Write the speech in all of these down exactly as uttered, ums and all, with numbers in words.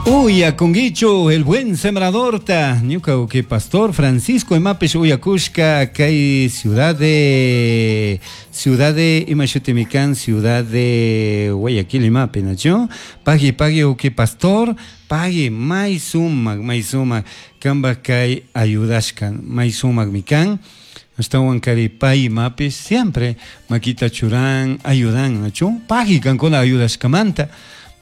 Uyakunguichu El Buen Sembradorta ñuka uki pastor Francisco imapish uyakushka kay ciudad de ciudad de ima shutimi kan ciudad de Guayaquil imapi nachu pagui pagui uki pastor pagui may sumak may sumak kanpak kay ayudashka may sumakmi kan ashtawan kari pay imapish siempre makita churan ayudan nachu pagui kankuna ayudashkamanta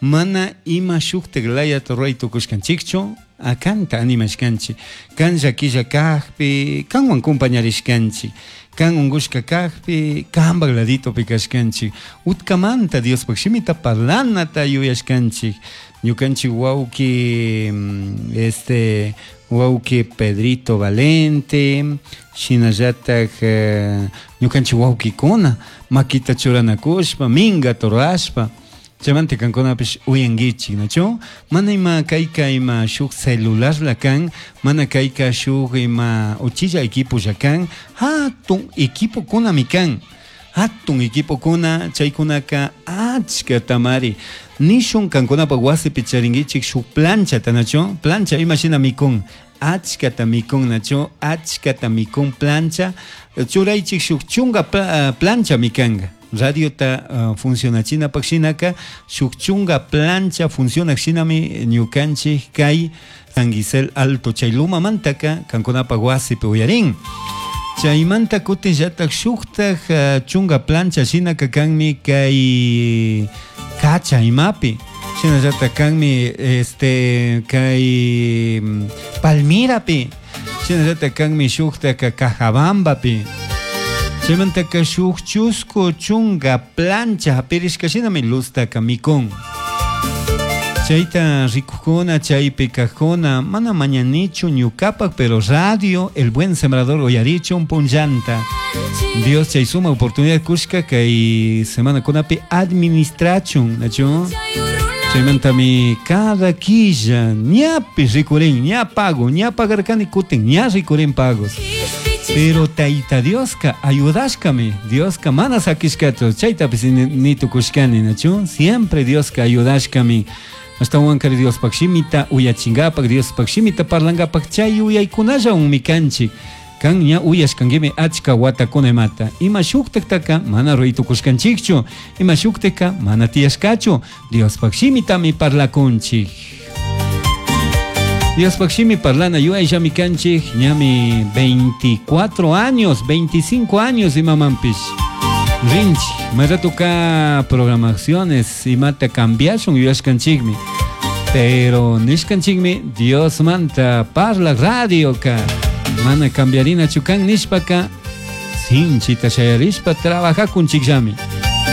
mana ima shuktik layata ruray tukushkanchikchu akanta animashkanchik kan llakilla kakpi kanwan compañarishkanchik kan unkushka kakpi kanpak laditopi kashkanchik utkamanta Diospuk shimita parlanata yuyashkanchik ñukanchik wawki este wawki Pedrito Valente shinallatak ñukanchik wawkikuna makita churanakushpa minkata rurashpa chaymanta kankunapish uyankichik nachu mana ima kayka ima shuk celularla kan mana kayka shuk ima uchilla equipolla kan hatun equipokunami kan hatun equipokuna chaykunaka achkatamari nishun kankunapak wasipi charinkichik shuk planchata nachu plancha imashina mikun achkata mikun nachu achkata mikun plancha churaychik shuk chunka plancha mikanka radiota uh, funcionachinapaq shinaka shuk chunka plancha funcionak shinami ñukanchik kay San Gisel Alto chay lumamantaka kankunapak wasipi uyarin chaymanta kutinllatak shuktak uh, chunka plancha shinaka kanmi kay kacha imapi shinallatak kanmi este kay Palmirapi shinallatak kanmi shuktak Cajabambapi chaymantaka shuk chusku chunka plancha hapirishka shinami luztaka mikun chayta rikukuna chaypi kajkuna mana mañanichu ñukapak pero radio El Buen Sembrador uyarichun punllanta Dios chay suma oportunidad kushka kay semana kunapi administrachun nachu chaymantami cada quilla ñapish rikurin ña pago ña pagarkani kutin ña rikurin pagos pero Taita Dioska ayudashkami Dioska mana sakishkachu chaytapis ni tukushkani nachu siempre Dioska ayudashkami ashtawankari Diospaq shimita uyachinkapak Diospaq shimita parlankapak chay uyaykunallawanmi kanchik kan ña uyashkankimi achka watakuna imata ima shuktaktaka mana ruray tukushkanchikchu ima shuktika mana tiyashkachu Diospaq shimitami parlakunchik Diospaq shimi parlana yuyayllami kanchik ñami veinticuatro años, veinticinco años imamanpish rinchik may ratoka programaciones imata cambiashun yuyashkanchikmi pero nishkanchikmi Diosmanta parlak radioka mana cambiarinachu kan nishpaka sinchita shayarishpa trabajakunchikllami.